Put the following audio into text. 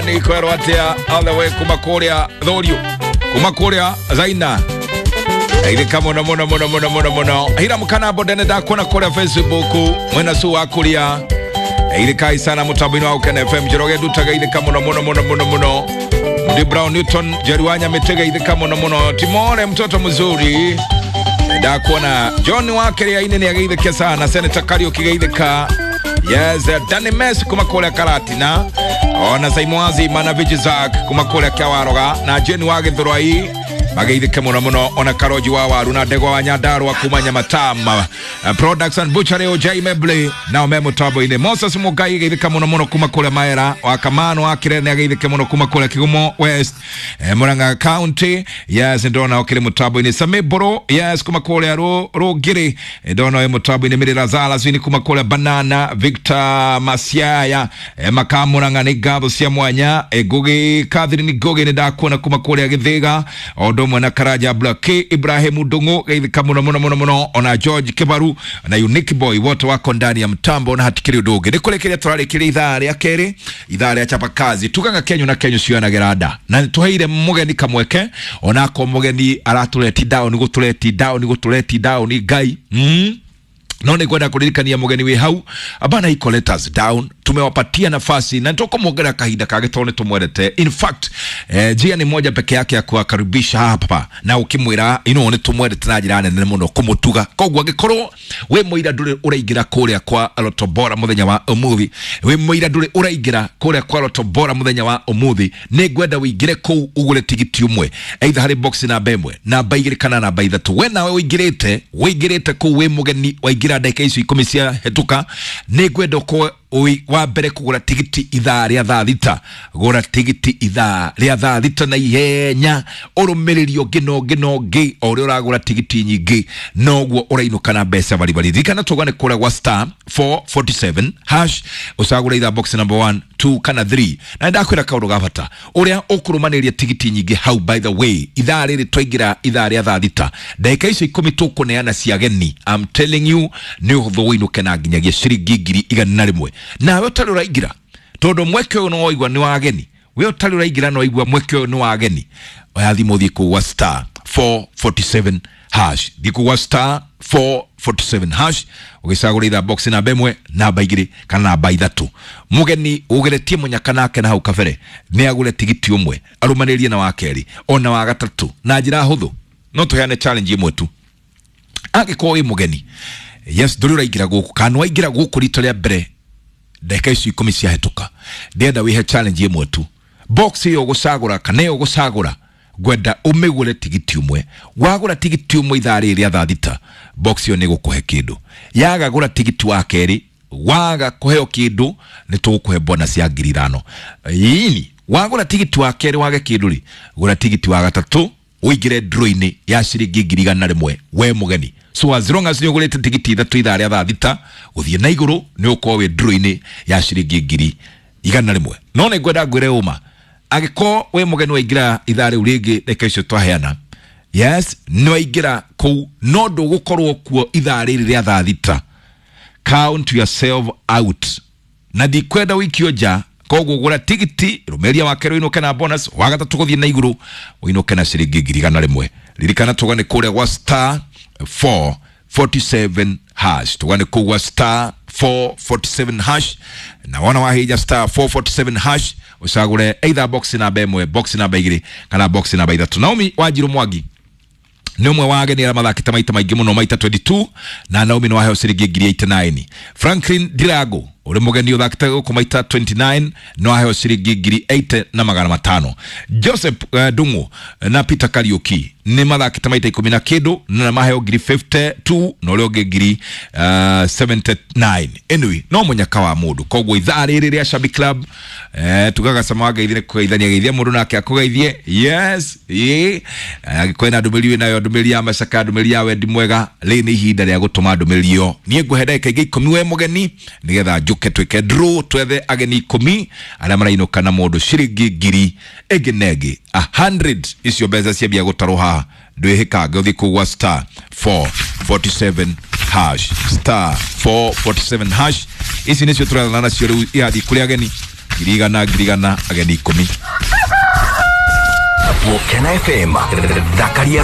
Nĩ kwerwo atĩa all the way kuma kũrĩa Thũriũ, kuma kũrĩa Zaina. Geithĩka mũno mũno mũno mũno mũno mũno. Hira Mkanambo ndene ndakuona kũrĩa Facebook mwena su wa kũrĩa. Geithĩkai sana mũtambo-inĩ wa Ukene FM. Njoroge Nduta geithĩka mũno mũno mũno mũno mũno. Mdi Brown Newton Jerry wa Nyamitĩ geithĩka mũno mũno. Timore mtoto mzuri ndakuona. John wa Kĩrĩa-inĩ nĩ ageithĩke sana. Senator Kariuki geithĩka. Yes, Danny Messi kuma kũrĩa Karatina, ona Saimwazi mana Vijizak kuma kũrĩa Kĩawaroga, na Jane wa Gĩthũrai mageithĩke mũno mũno, ona Karoji wa Waru na Ndegwa wa Nyandarua kuma Nyamatama Products and Butchery Ojai Mebley nao me mũtambo-inĩ. Moses Mugai geithĩka mũno mũno kuma kũrĩa Maera wa Kamano wa Kirene ageithĩke mũno kuma kũrĩa Kigumo West, Murang'a County. Yes, ndona okĩrĩ mũtambo-inĩ. Sami Boro, yes, kuma kũrĩa Rũngĩrĩ, ndona wĩ mũtambo-inĩ. Mĩrĩra Zala kuma kũrĩa Banana, Victor Masiaya, Makamũrang'a nĩ ngatho cia mwanya. Ngugi Catherine Ngugi nĩ ndakuona kuma kũrĩa Gĩthĩga, o ũndũ ũmwe na Karanja Black Ibrahim Ndung'u geithĩka mũno mũno mũno mũno, ona George Kibaru na Unique Boy wote wako ndani ya mtambo na hatikiri ũndũ ũngĩ. Nĩ kũrĩkĩria tũrarĩkĩria ithaa rĩa kerĩ, ithaa rĩa chapa kazi, tugaga kenyu na kenyu cionagĩra nda, na nĩtũheire mũgeni kamweke, onako mũgeni aratũreti down, gũtũreti down, gũtũreti down Ngai. No nĩ ngwenda kũririkania mũgeni wĩ hau abana iko let us down, tumewapatia nafasi na tukamwongera kahinda kage tondũ nĩ tũmwendete. In fact, njia ni moja peke yake ya kuwakaribisha hapa na ukimwĩra ino nĩ tũmwendete na njĩra nene mũno kũmũtuga. Koguo angĩkorwo wĩ mũira ndũrĩ ũraingĩra kũrĩa kwa Lotto Bora mũthenya wa ũmũthĩ, wĩ mũira ndũrĩ ũraingĩra kũrĩa kwa Lotto Bora mũthenya wa ũmũthĩ, nĩ ngwenda ũingĩre kũu ũgũre tigiti ũmwe, either harĩ box namba 1, namba 2 kana namba 3. We nawe ũingĩrĩte kũu wĩ mũgeni, waingĩra ndagĩka icio 10 cia hetũka, nĩ ngwenda ũkorwo wa mbere kũgũra tigiti ithaa rĩa thaa thita. Gũra tigiti ithaa rĩa thaa thita na ihenya, ũrũmĩrĩri ũngĩ na ũngĩ na ũngĩ. O ũrĩa ũragũra tigiti nyingĩ noguo ũrainũka na mbeca baribari. Ririkana tũgane kũrĩa gwa star 447 hash, ũcagũre ithaa box number 1, 2 kana 3. Na ndakwĩra kaũndũ ga bata, ũrĩa ũkũrũmanĩria tigiti nyingĩ hau, by the way, ithaa rĩrĩ twaingĩra ithaa rĩa thaa thita, ndagĩka icio 10 tũkũneana cia ageni, I'm telling you nĩ ũhũthũ ũinũke na nginyagia ciringi 100,000. Nawe ũtarĩ ũraingĩra, tondũ mweke ũyũ nĩ waigua nĩ wa ageni, we ũtarĩ ũraingĩra no waigua mweke ũyũ nĩ wa ageni, oya thimũ ũthiĩ kũu gwa star 447 hash, thiĩ kũu gwa star 447 hash ũgĩcagũra ithaa box namba 1, namba 2 kana namba 3. Mũgeni ũgeretie mũnyaka nake na hau kabere nĩ agũre tigiti ũmwe, arũmanĩrie na wa kerĩ ona wa gatatũ na njĩra hũthũ. No tũheane challenge ĩmwe tu, angĩkorwo wĩ mũgeni, yes, ndũrĩ ũraingĩra gũkũ kana waingĩra gũkũ rita rĩa mbere ndagĩka icio 10 ciahĩtũka, ndĩrenda wĩhe challenge ĩmwe tu. Box ĩyo ũgũcagũra kana ĩyo ũgũcagũra, ngwenda ũmĩgũre tigiti ũmwe. Wagũra tigiti ũmwe ithaa rĩrĩ rĩa thaa thita, box ĩyo nĩ ĩgũkũhe kĩndũ. Yaga gũra tigiti wa kerĩ, waga kũheo kĩndũ, nĩ tũgũkũhe bonus ya 5,000. Ini wagũra tigiti wa kerĩ wage kĩndũ rĩ, gũra tigiti wa gatatũ ũingĩre draw-inĩ ya ciringi 100,000 we mũgeni. So as long as nĩ ũgũrĩte tigiti 3 ithaa rĩa thaa thita gũthiĩ na igũrũ, nĩ ũkorwo wĩ draw-inĩ ya ciringi 100,000. No nĩ ngwenda ngwĩre ũma, angĩkorwo wĩ mũgeni waingĩra ithaa rĩu rĩngĩ ndagĩka icio twaheana, yes, nĩ waingĩra kũu no ndũgũkorwo kuo ithaa rĩrĩ rĩa thaa thita, count yourself out. Na ndikwenda wĩikio nja, koguo gũra tigiti rũmĩrĩria wa kerĩ ũinũke na bonus, wa gatatũ gũthiĩ na igũrũ ũinũke na ciringi 100,000. Ririkana tũgane kũrĩa gwa star 447 hash, tũgane kũu gwa star 447 hash, na wona wahinya star 447 hash ũcagũre either box namba 1, box namba 2 kana box namba 3. Naomi Wanjiru Mwangi nĩ ũmwe wa ageni arĩa mathakĩte maita maingĩ mũno, maita 22, na Naomi nĩ waheo ciringi 89. Franklin Dirago ũrĩ mũgeni ũthakĩte gũkũ maita 29 nĩ waheo ciringi 8,500. Joseph Ndung'u na Peter Kariuki nĩ mathakĩte maita 10 na kĩndũ na maheo 52 na ũrĩa ũngĩ 79. Anyway, no mũnyaka wa mũndũ. Koguo ithaa rĩrĩ rĩa Shabby Club, tugaga cama wa ngeithi nĩ kũgeithania geithia mũndũ nake akũgeithie. Yes, ĩ angĩkorwo ena ndũmĩrĩri wĩnayo, ndũmĩrĩri ya macaka, ndũmĩrĩri ya wendi mwega, rĩrĩ nĩ ihinda rĩa gũtũma ndũmĩrĩri ĩyo. Niĩ ngũhe ndagĩka ingĩ 10 we mũgeni, nĩgetha njũke twĩke draw, twethe ageni 10 arĩa marainũka na mũndũ ciringi 1,000 ĩngĩ na ĩngĩ 100. Icio mbeca ciambia gũtarwo haha, ndwĩhĩkange, ũthiĩ kũu gwa star 447 hash, star 447 hash. Ici nĩcio tũrathana nacio rĩu irathiĩ kũrĩ ageni. 100,000 100,000 ageni 10. Gũkena FM thakaria.